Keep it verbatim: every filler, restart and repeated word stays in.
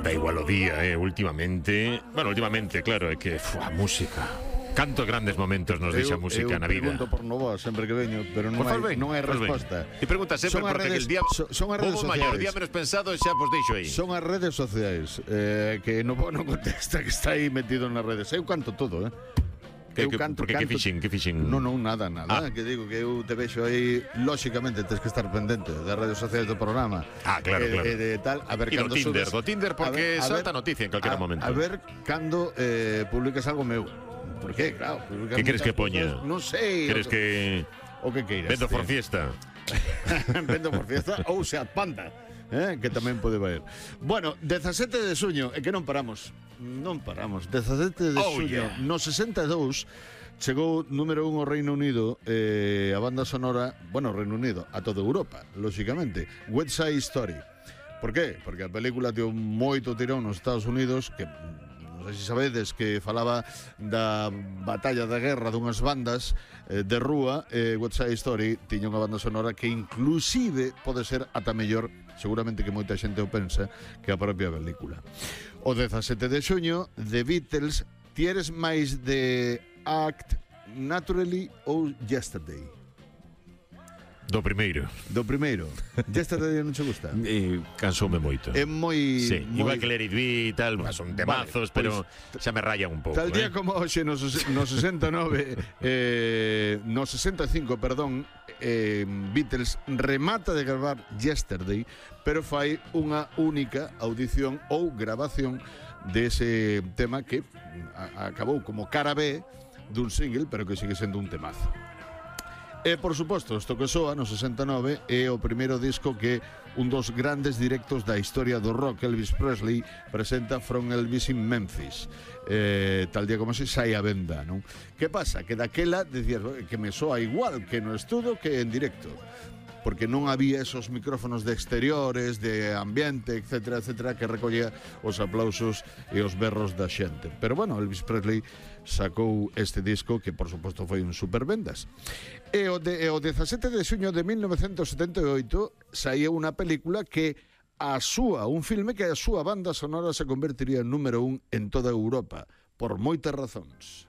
Da igual o día, eh, últimamente. Bueno, últimamente, claro, é que uf, a música. Cantos grandes momentos nos deixa a música na vida. Eu pregunto por Novoa sempre que veño, pero non hai, non hai resposta. E pregunta sempre Son as porque redes- el día son- son as redes Bobo maior, o sociais. día menos pensado xa vos deixo aí. Son as redes sociais eh, que Novoa non contesta, que está aí metido nas redes. Eu canto todo, eh? Que, Eu que, canto, porque canto. que fixen, que fixen? Non, non, nada, nada. Ah. Que digo que eu te vexo aí, lóxicamente tens que estar pendente das redes sociais do programa. Ah, claro, eh, claro. E de tal, a ver E do cando Tinder, subes- do Tinder porque a ver- a salta ver- noticia en calquera a- momento. A ver cando eh, publicas algo meu. Por qué? Claro, publicas Que queres muchas que poña? cosas, Non sei. Queres o- que O que queiras. vendo por tío. fiesta? Vendo por fiesta ou Seat Panda, eh, que tamén pode valer. Bueno, dezasete de suño, é que non paramos. Non paramos. dezasete de Oh, suño, yeah. no sesenta e dous chegou número un ao Reino Unido, eh, a banda sonora, bueno, Reino Unido, a toda Europa, lóxicamente, West Side Story. Por qué? Porque a película deu moito tirón nos Estados Unidos, que non sei se sabedes que falaba da batalla da guerra dunhas bandas eh, de rúa. eh, West Side Story tiña unha banda sonora que inclusive pode ser ata mellor, seguramente que moita xente o pensa, que a propia película. O dezasete de xuño, The Beatles, ti eres máis de Act Naturally ou Yesterday? Do primeiro. Do primeiro. Yesterday non che gusta? E cansoume moito. É moi... Sí, moi... igual que Let It Be e tal, son temazos, Vale, pero xa me rayan un pouco. Tal eh. día como hoxe no, ses- no sesenta e nove eh, no sesenta e cinco, perdón, eh, Beatles remata de gravar Yesterday, pero fai unha única audición ou grabación dese tema que a, acabou como cara B dun single, pero que sigue sendo un temazo. E, por suposto, isto que soa no sesenta e nove é o primeiro disco que un dos grandes directos da historia do rock, Elvis Presley, presenta From Elvis in Memphis. Eh, tal día como se sai a venda, non? Que pasa? Que daquela decías que me soa igual que no estudo que en directo, porque non había esos micrófonos de exteriores, de ambiente, etcétera, etcétera, que recollía os aplausos e os berros da xente. Pero bueno, Elvis Presley sacou este disco que, por suposto, foi un supervendas. E o, de, e o dezasete de xuño de mil novecentos setenta e oito saía unha película que a súa, un filme que a súa banda sonora se convertiría en número un en toda Europa, por moitas razóns.